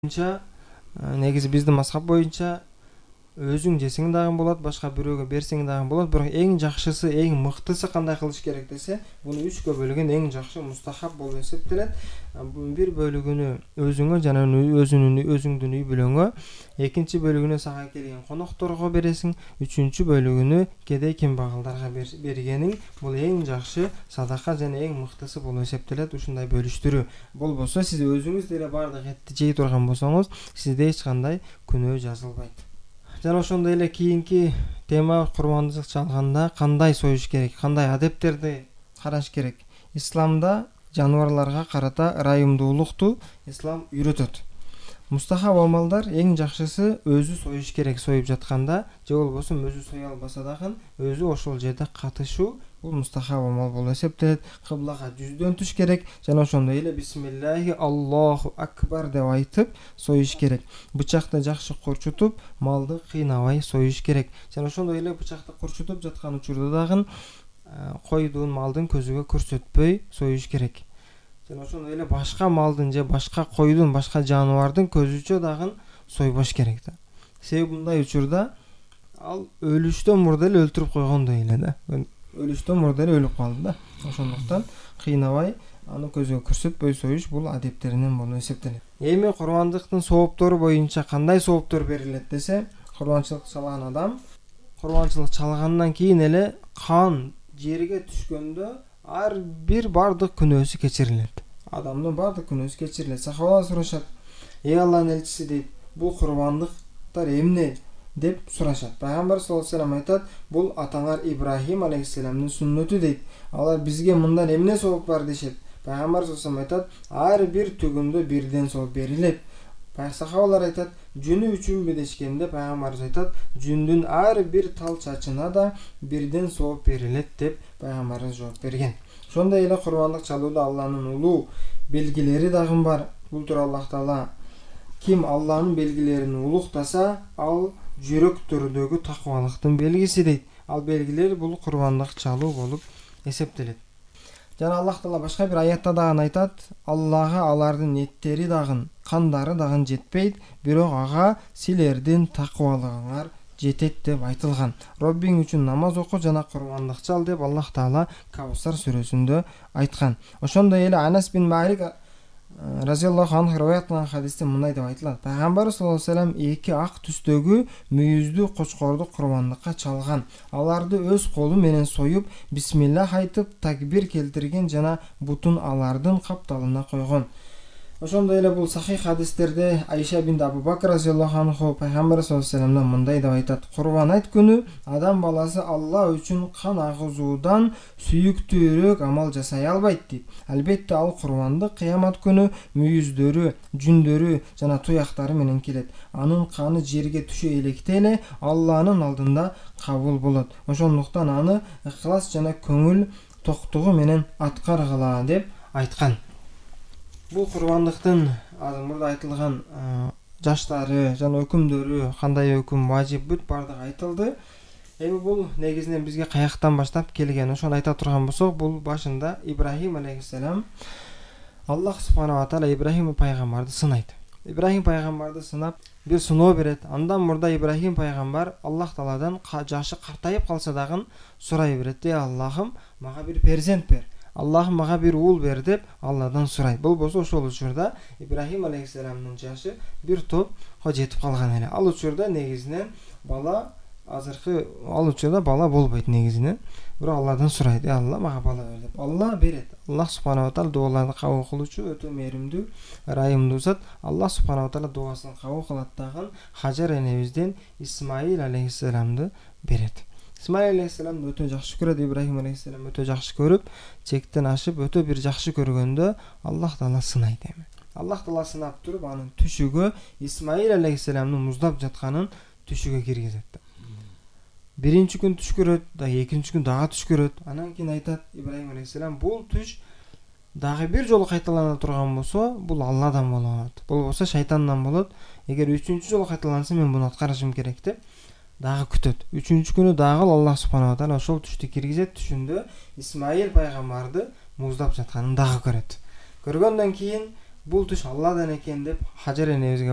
боюнча негизи биздин мазхаб боюнча өзүң жесең дагы болот, башка бирөөгө берсең дагы болот, бирок эң жакшысы, эң мыктысы кандай кылыш керек десе, буну 3кө бөлгөн эң жакшы мустахаб болуп эсептелет. Бир бөлүгүнү өзүңө жана өзүңдүн үй бүлөңө, экинчи бөлүгүнү сага келген конокторго бересиң, үчүнчү бөлүгүнү кедей кембагалдарга бергениң бул эң жакшы садака жана эң мыктысы болуп эсептелет. Ушундай бөлүштүрүү болбосо, сиз өзүңүз деле баардык этти жей турган болсоңуз, сизде эч кандай күнөө жазылбайт. Жана ошондой эле кийинки тема курмандык чалганда кандай союш керек, кандай адептерди караш керек. Исламда жаныбарларга карата ырайымдуулукту ислам үйрөтөт. Мустахаб амалдар эң жакшысы өзү союш керек союп жатканда, же болбосо өзү сое албаса дагы өзү ошол жерде катышуу бул мустахаб амал болуп эсептелет. Кыблага жүздөн түш керек жана ошондой эле бисмиллахи Аллаху акбар деп айтып союш керек. Бычакты жакшы курчутуп, малды кыйнабай союш керек. Жана ошондой эле бычакты курчутуп жаткан учурда дагы койдун, малдын көзүгө көрсөтпөй союш керек. Жана ошондой эле башка малдын же башка койдун, башка жаныбардын көзүчө дагы сойбош керек да. Себеби мындай учурда ал өлүштөн мурда эле өлтүрүп койгондой эле да. Өлүштөн мурда эле өлүп калды да. Ошондуктан кыйнабай аны көзгө көрсөтпөй союш бул адептеринен болуп эсептелет. Эми курмандыктын сооптору боюнча кандай сооптор берилет десе, курманчылык чалган адам курманчылык чалгандан кийин эле кан жерге түшкөндө ар бир бардык күнөөсү кечирилет. Адамдын бардык күнөөсү кечирилет. Сахабалар сурашат: "Эй Алланын элчиси" дейт, "Бул курмандыктар эмне?" деп сурашат. Пайгамбар саллаллаху алейхи вассалам айтат: "Бул атаңар Ибрахим алейхиссаламдын сүннөтү" дейт. Алар бизге мындан эмне сооп бар дешет. Пайгамбар саллаллаху алейхи вассалам айтат: "Ар бир түгүндө бирден сооп берилет." Сахабалар айтат: "Жүнү үчүнбү?" дешкенде Пайгамбарыбыз айтат: "Жүндүн ар бир тал чачына да бирден сооп берилет" деп Пайгамбарыбыз жооп берген. Ошондой эле курмандык чалууда Алланын улуу белгилери дагы бар. Бул тууралуу Аллах Таала: "Ким Алланын белгилерин улуктаса, ал жүрөктөрдөгү такыбалыктын белгиси" дейт. Ал белгилер бул курмандык чалуу болуп эсептелет. Жана Аллах Таала башка бир аятта дагы айтат: "Аллага алардын эттери дагы, кандары дагы жетпейт, бирок ага силердин такыбалыгыңар жетет" деп айтылган. Роббиң үчүн намаз оку жана курмандык чал деп Аллах Таала Каусар сүрөсүндө айткан. Ошондой эле Анас бин Малик разияллаху анху риваят кылган хадисте мындай деп айтылат: Пайгамбар саллаллаху алейхи вассалам эки ак түстөгү мүйүздүү кочкорду курмандыкка чалган. Аларды өз колу менен союп, бисмиллах айтып, такбир келтирген жана бутун алардын капталына койгон. Ошондой эле бул сахих хадистерде Айша бин Абу Бакр разияллаху анху Пайгамбар саллаллаху алейхи вассаламдан мындай деп айтат: "Курбан айт күнү адам баласы Алла үчүн кан агызуудан сүйүктүүрөөк амал жасай албайт" дейт. Албетте ал курбандык кыямат күнү мүйүздөрү, жүндөрү жана туяктары менен келет. Анын каны жерге түшө электе эле Алланын алдында кабыл болот. Ошондуктан аны ыхлас жана көңүл токтугу менен аткаргыла деп айткан. Бул курбандыктын мурда айтылган жаштары жана өкүмдөрү, кандай өкүм важип бүт бардыгы айтылды. Эми бул негизинен бизге каяктан баштап келген? Ошону айта турган болсок, бул башында Ибрахим алейхиссалам, Аллах субхана ва таала Ибрахим пайгамбарды сынайт. Ибрахим пайгамбарды сынап, бир сыноо берет. Андан мурда Ибрахим пайгамбар Аллах Тааладан жашы картайып калса дагы сурай берет: "Эй Аллахым, мага бир перзент бер. Аллахым мага бир уул бер" деп Алладан сурайт. Болбосо ошол учурда Ибрахим алейхиссаламдын жашы бир топко жетип калган эле. Ал учурда негизинен бала учурда бала болбойт негизинен. Бирок Алладан сурайт: "Эй Алла, мага бала бер" деп. Алла берет. Аллах субхана ва таала дуаларды кабыл кылуучу өтө мээримдүү, ырайымдуу зат. Аллах субхана ва таала дуасын кабыл кылат дагы Хажар энебизден Исмаил алейхиссаламды берет. Исмаил алейхиссаламды өтө жакшы көрөт, Ибрахим алейхиссалам өтө жакшы көрүп, чектен ашып өтө бир жакшы көргөндө Аллах Таала сынайт эми. Аллах Таала сынап туруп, анын түшүгө Исмаил алейхиссаламдын муздап жатканын түшүгө киргизет. Биринчи күн түш көрөт, экинчи күн дагы түш көрөт. Анан кийин айтат Ибрахим алейхиссалам: "Бул түш дагы бир жолу кайталана турган болсо, бул Алладан болот. Болбосо шайтандан болот. Эгер үчүнчү жолу кайталанса, мен буну аткарышым керек" деп дагы күтөт. Үчүнчү күнү дагы Аллах субхана ва таала ошол түштү киргизет. Түшүндө Исмаил пайгамбарды муздап жатканын дагы көрөт. Көргөндөн кийин бул туш Алладан экен деп Хажар энебизге